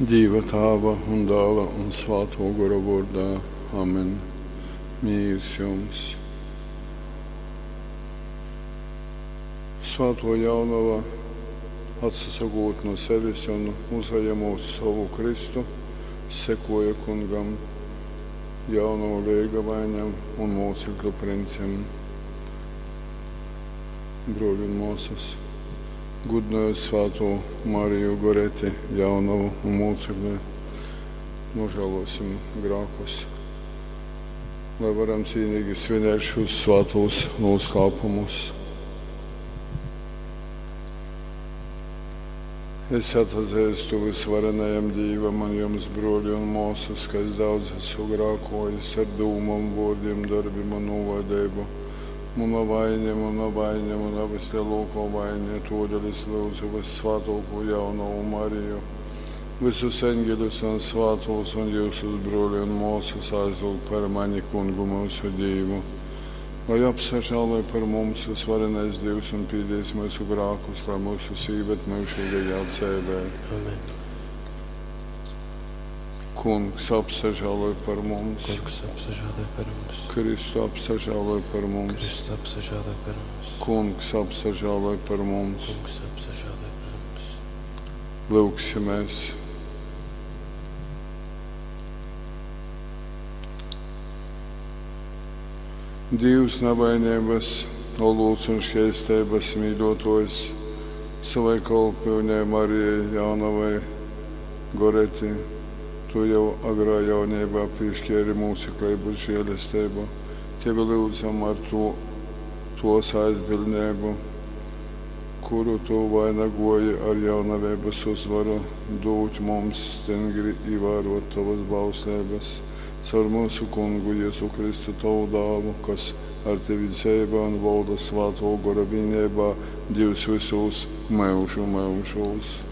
Dīva Tāva un Dāla un Svātō Gora vōrdā. Amen. Mīrs jums! Svātō Jaunova, atsasokūt nu sevis un uzajemūt sovu krystu, sekoja Kungam, jaunovu leigavaiņam un mūcekļu princim. Brōļi un mōsas, gudinojot svātū Mariju Goreti, jaunovu un mūcekli, nožēlosim grākus, lai varam cīnīgi svinēt šos svātos noslēpumus. Es atzīstu visvarenajam Dīvam un jums, brōļi un māsas, ka es daudz esmu grākojis ar dūmām, vārdiem, darbiem un novaidību. Muna vaine, muna vaine, muna vislielākā vaine, todēļ es lūdzu vissvētāko jaunavu Mariju, visus eņģeļus un svātos un jūsus brōļi un māsas aizlūgt par mani kungu mūsu Dīvu. Lai apsažāloj par mums visvarenais Dievs un pīdies mūsu grākus, lai mūsu sīvet mūžīgajā dzēvē. Amen. Kungs apsažāloj par mums. Kungs apsažāloj par mums. Kristu apsažāloj par mums. Kristu apsažāloj par mums. Kungs apsažāloj par mums. Kungs apsažāloj par mums. Lūgsimies. Dievs navainības, olūts un šķēstības mīļotājs, savai kalpīnei Marijai Jaunavai Goreti, tu jau agrā jaunībā piešķēri mūceklību žēlestību. Tevi lūdzam ar to, tos aizbildnību, kuru tu vainagoji ar jaunavības uzvaru, dūt mums stingri ievērot tavas bauslības. Caur mūsu kungu Jēzu Kristu tavu dālu, kas ar tevi dzīvo un valda svāto gora vienībā, Dievs visos mūžu mūžos.